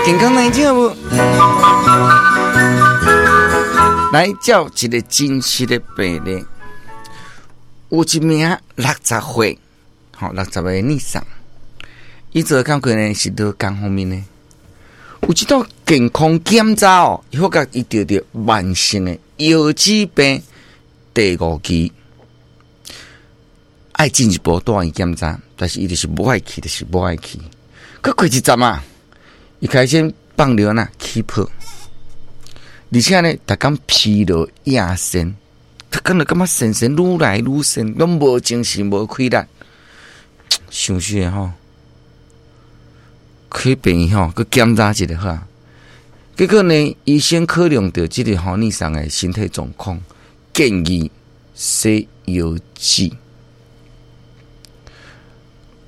健康來聽無？來照一個真實的病例，有一名60歲，吼60歲女生，伊做工課呢是勞工方面的，有一道健康檢查哦，伊發覺伊著著慢性的腰子病第五期，愛進一步帶院檢查，但是伊就是無愛去，就是無愛去。閣過一陣啊，伊開始放尿呐起泡，而且呢，逐工疲勞厭神，逐工就感覺神神愈來愈神，攏無精神、無氣力，傷死吼！去病院吼，閣檢查一下好。結果呢，醫生考量著這個吼女生的身體狀況，建議洗腰子。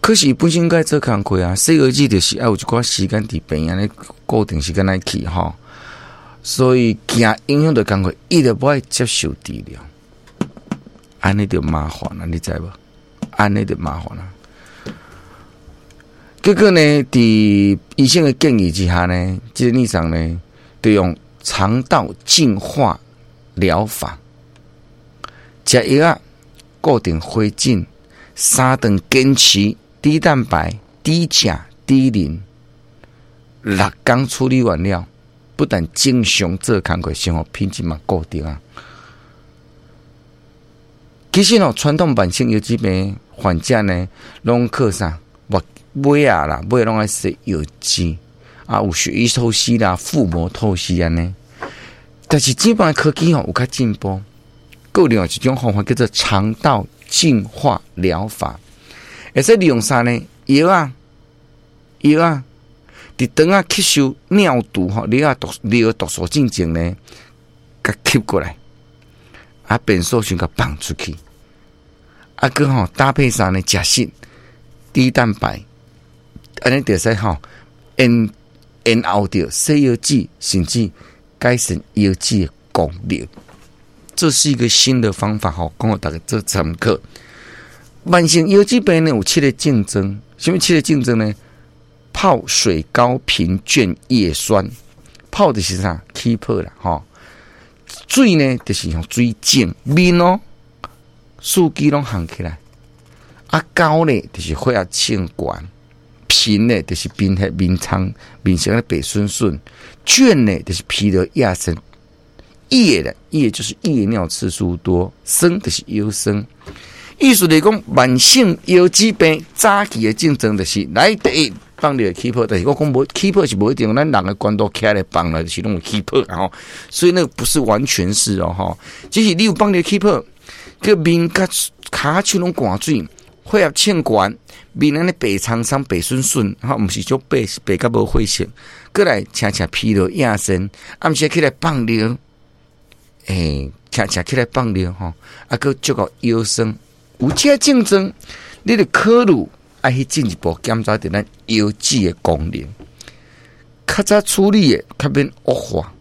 可是本身該做工課啊，洗腰子就是愛有一寡時間佇病院咧固定時間來去吼，所以驚影響著工課，伊就無愛接受治療，按呢就麻煩啦，你知無？按呢就麻煩啦。結果呢，佇醫生的建議之下呢，這個女生呢，就用腸道淨化療法，食藥仔，固定回診，三頓堅持低蛋白、低鉀、低磷，6工處理完了，不但正常做工課，生活品質嘛固定啊。其實哦，傳統慢性腰子病患者呢，攏靠啥？尾仔啦，尾攏愛洗腰子啊，有血液透析啦、腹膜透析按呢。但是這擺科技吼有較進步，閣有另外一種方法叫做腸道淨化療法，會使利用啥呢？藥仔，藥仔，佇腸仔吸收尿毒吼，尿毒尿毒素進前呢，共吸過來，啊，便素先共放出去，啊，閣吼搭配啥呢？食食低蛋白。按呢就會使吼延延後著洗腰子，甚至改善腰子的功能。這是一個新的方法吼，供予大家做參考。慢性腰子病呢有七個症狀，啥物七個症狀呢？泡水高貧倦葉酸，泡就是啥？起泡啦，吼。水呢就是像水腫，面哦，四肢攏紅起來。啊，高呢就是血壓升懸。貧呢，就是貧血、面蒼、面色咧白順順；倦呢，就是疲勞厭神；夜咧，夜就是夜尿次數多；酸就是腰酸。意思來講，慢性腰子病早期的症狀就是來第一放尿起泡，但是我講無起泡是無一定，咱人的懸度起來放了就是攏有起泡吼，所以那個不是完全是哦吼，只是你有放尿起泡，閣面佮跤手攏灌水，血壓升懸。面按呢白蒼蒼、白順順，吼，毋是足白，是白甲無血色。閣來，捙捙疲勞厭神，暗時起來放尿，欸，捙捙起來放尿吼，啊，閣足夠腰酸，有這症狀，你著考慮愛去進一步檢查著咱腰子的功能。較早處理的，較免惡化。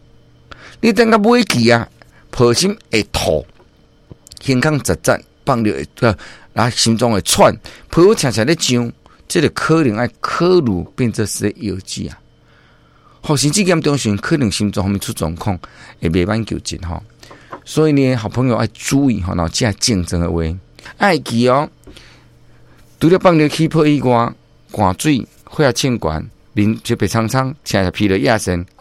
你等到尾期啊，抱心會吐，胸腔窒窒，放尿會啊，心臟會喘，皮膚常常咧脹，這個可能愛考慮變做洗腰子啊。吼，甚至嚴重時可能心臟方面出狀況，會袂挽救盡吼。所以呢，好朋友愛注意吼，若有這症狀的話，愛記哦。除了放尿起泡以外，灌水、血壓升懸、面就白蒼蒼、捙捙疲勞厭神。